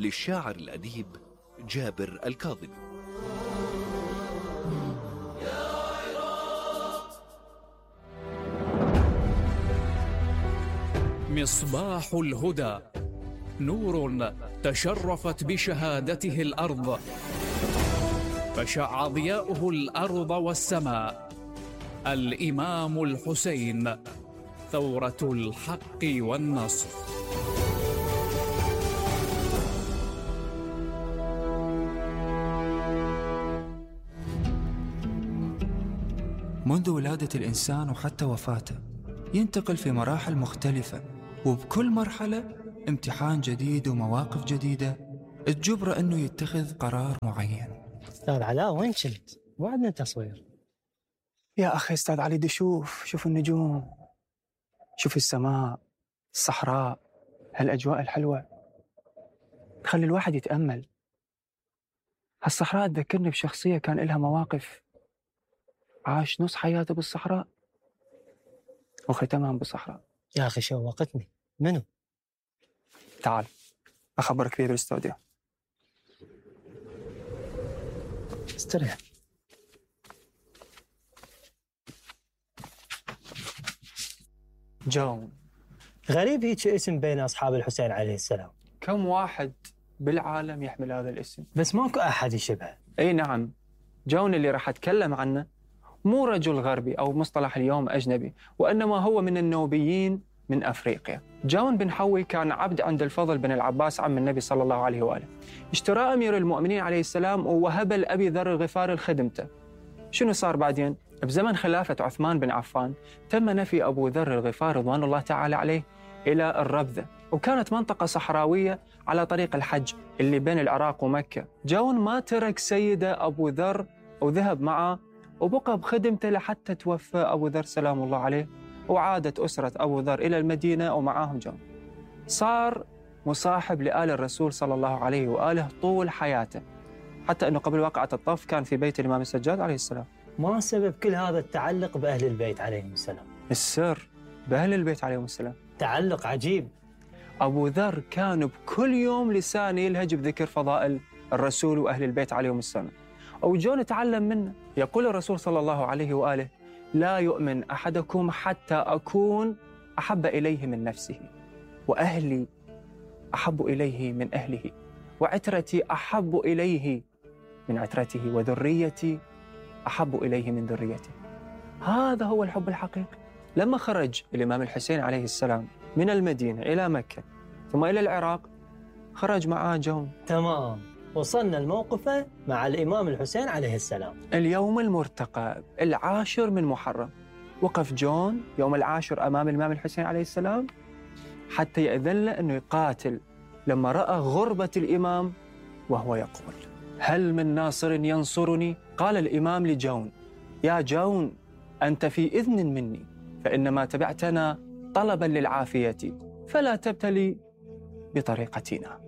للشاعر الأديب جابر الكاظمي. مصباح الهدى، نور تشرفت بشهادته الأرض، فشع ضياؤه الأرض والسماء. الإمام الحسين، ثورة الحق والنصر. منذ ولادة الإنسان وحتى وفاته ينتقل في مراحل مختلفة، وبكل مرحلة امتحان جديد ومواقف جديدة تجبره أنه يتخذ قرار معين. أستاذ علاء وين كنت؟ وعدنا تصوير. يا أخي أستاذ علي دي شوف النجوم، شوف السماء، الصحراء، هالأجواء الحلوة تخلي الواحد يتأمل. هالصحراء تذكرني بشخصية كان إلها مواقف، عاش نص حياته بالصحراء وختمها بالصحراء. يا أخي شوقتني. منو؟ تعال أخبرك فيه بالاستوديو. استريح. جون. غريب هيك اسم بين أصحاب الحسين عليه السلام. كم واحد بالعالم يحمل هذا الاسم؟ بس ماكو أحد يشبهه. أي نعم. جون اللي راح أتكلم عنه مو رجل غربي أو مصطلح اليوم أجنبي، وإنما هو من النوبيين من أفريقيا. جون بن حوي كان عبد عند الفضل بن العباس عم النبي صلى الله عليه وآله. اشترى أمير المؤمنين عليه السلام ووهب لأبي ذر الغفاري لخدمته. شنو صار بعدين؟ بزمن خلافة عثمان بن عفان تم نفي أبو ذر الغفاري رضوان الله تعالى عليه إلى الربذة، وكانت منطقة صحراوية على طريق الحج اللي بين العراق ومكة. جون ما ترك سيده أبو ذر وذهب معه وبقى بخدمته لحتى توفى أبو ذر سلام الله عليه، وعادت أسرة أبو ذر إلى المدينة ومعاهم جون. صار مصاحب لآل الرسول صلى الله عليه وآله طول حياته، حتى أنه قبل واقعة الطف كان في بيت الإمام السجاد عليه السلام. ما سبب كل هذا التعلق بأهل البيت عليهم السلام؟ السر بأهل البيت عليهم السلام. تعلق عجيب. أبو ذر كان بكل يوم لسانه يلهج بذكر فضائل الرسول وأهل البيت عليهم السلام، أو جون تعلم منه. يقول الرسول صلى الله عليه وآله: لا يؤمن أحدكم حتى أكون أحب إليه من نفسه، وأهلي أحب إليه من أهله، وعترتي أحب إليه من عترته، وذريتي أحب إليه من ذريته. هذا هو الحب الحقيقي. لما خرج الإمام الحسين عليه السلام من المدينة إلى مكة ثم إلى العراق، خرج معاه جون. تمام، وصلنا الموقف مع الإمام الحسين عليه السلام. اليوم المرتقب 10 من محرم، وقف جون يوم 10 أمام الإمام الحسين عليه السلام حتى يأذن له أنه يقاتل. لما رأى غربة الإمام وهو يقول: هل من ناصر ينصرني؟ قال الإمام لجون: يا جون، أنت في إذن مني، فإنما تبعتنا طلبا للعافية، فلا تبتلي بطريقتنا.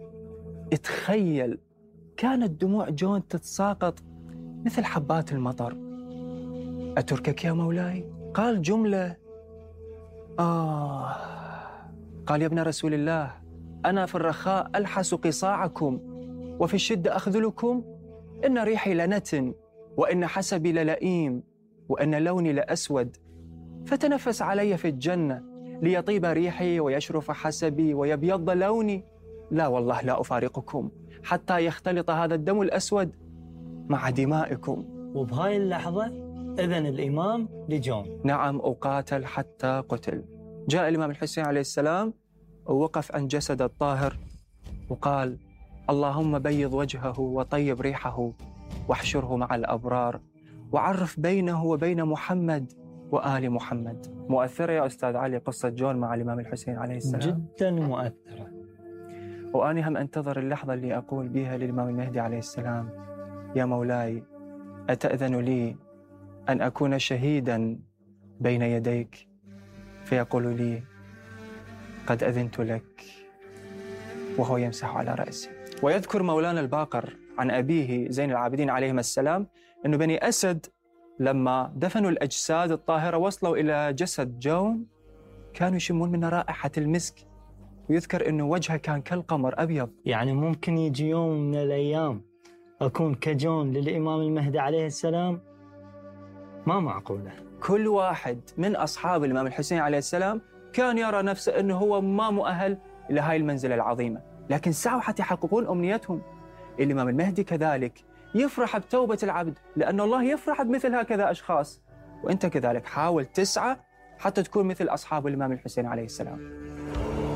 اتخيل، كانت دموع جون تتساقط مثل حبات المطر. أتركك يا مولاي؟ قال جملة قال: يا ابن رسول الله، أنا في الرخاء ألحس قصاعكم، وفي الشدة أخذلكم. إن ريحي لنتن، وإن حسبي للئيم، وإن لوني لأسود، فتنفس علي في الجنة ليطيب ريحي ويشرف حسبي ويبيض لوني. لا والله لا أفارقكم حتى يختلط هذا الدم الأسود مع دمائكم. وبهاي اللحظة إذن الإمام لجون. نعم، أقاتل حتى قتل. جاء الإمام الحسين عليه السلام ووقف عن جسد الطاهر وقال: اللهم بيض وجهه وطيب ريحه واحشره مع الأبرار، وعرف بينه وبين محمد وآل محمد. مؤثرة يا أستاذ علي قصة جون مع الإمام الحسين عليه السلام؟ جدا مؤثرة. وأنا هم أنتظر اللحظة اللي أقول بها للإمام المهدي عليه السلام: يا مولاي، أتأذن لي أن أكون شهيدا بين يديك؟ فيقول لي: قد أذنت لك، وهو يمسح على رأسه. ويذكر مولانا الباقر عن أبيه زين العابدين عليهما السلام أنه بني أسد لما دفنوا الأجساد الطاهرة وصلوا إلى جسد جون كانوا يشمون من رائحة المسك، ويذكر أنه وجهه كان كالقمر أبيض. يعني ممكن يجي يوم من الأيام أكون كجون للإمام المهدي عليه السلام؟ ما معقولة. كل واحد من أصحاب الإمام الحسين عليه السلام كان يرى نفسه أنه هو ما مؤهل إلى هاي المنزلة العظيمة، لكن سعوا حتى يحققون أمنيتهم. الإمام المهدي كذلك يفرح بتوبة العبد، لأن الله يفرح بمثل هكذا أشخاص. وأنت كذلك حاول تسعى حتى تكون مثل أصحاب الإمام الحسين عليه السلام.